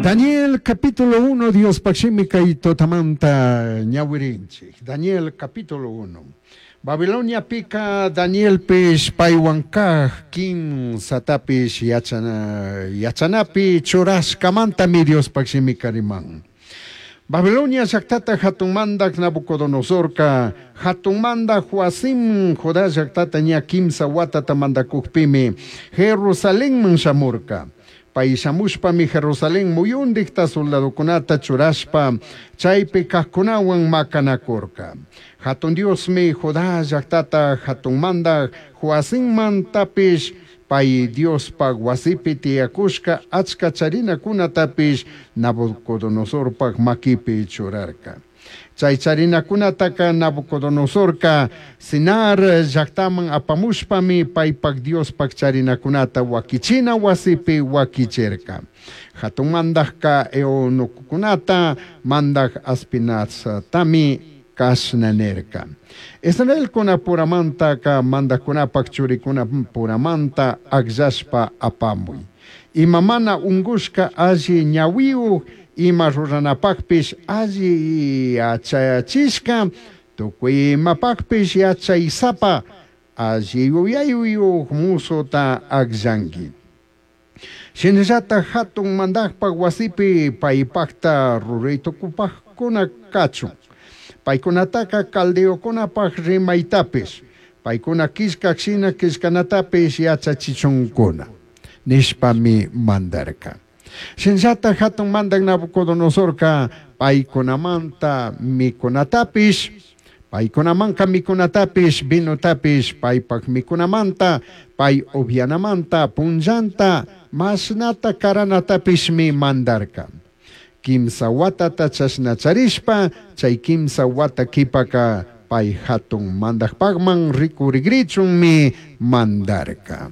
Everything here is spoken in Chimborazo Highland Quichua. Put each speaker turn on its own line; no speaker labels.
Daniel capítulo 1 Diospaj shimi cai tutamanta ñahuirinchij. Daniel capítulo 1. Babiloniapica Danielpish paihuan caj quimsatapish yachana, yachanapi churashcamantami Diospaj shimica riman. Babilonia llajtata jatun mandaj Nabucodonosorca jatun mandaj Joacim Judá llajtata ña quimsa huatata mandacujpimi Jerusalenman shamurca. Pai shamushpami Jerusalén muyundijta soldadocunata churashpa chaipi cajcunahuan macanacurca. Jatun Diosmi Judá llajtata jatun mandaj Joacimmantapish pai Diospaj huasipi tiyacushca achca charinacunatapish Nabucodonosorpaj maquipi churarca. Chai charinacunataca Nabucodonosorca Sinar llajtaman apamushpami paipaj Diospaj charinacunata huaquichina huasipi huaquichirca. Jatun mandajca eunucocunata mandaj Aspinaztami cashna nirca. Israelcunapuramantaca mandajcunapaj churicunapuramanta agllashpa apamui. Ima mana ungushca alli ñahuiyuj ima ruranapajpish alli yachachishca tucui imapajpish yachaisapa alli yuyaiyuj musota agllangui. Shinallataj jatun mandajpaj huasipi paipajta rurai tucupajcuna cachun. Paicunataca caldeocunapaj rimaitapish, paicuna quillcaj shina quillcanatapish yachachichuncuna, nishpami mandarca. Shinallataj jatun mandaj Nabucodonosorca paicunamanta micunatapish, paicunamanca micunatapish, vinotapish, paipaj micunamanta, pai ubyanamanta punllanta mashnata caranatapishmi mandarca. Quimsa huatata chashna charishpa, chai quimsa huata quipaca pai jatun mandajpajman ricurigrichunmi mandarca.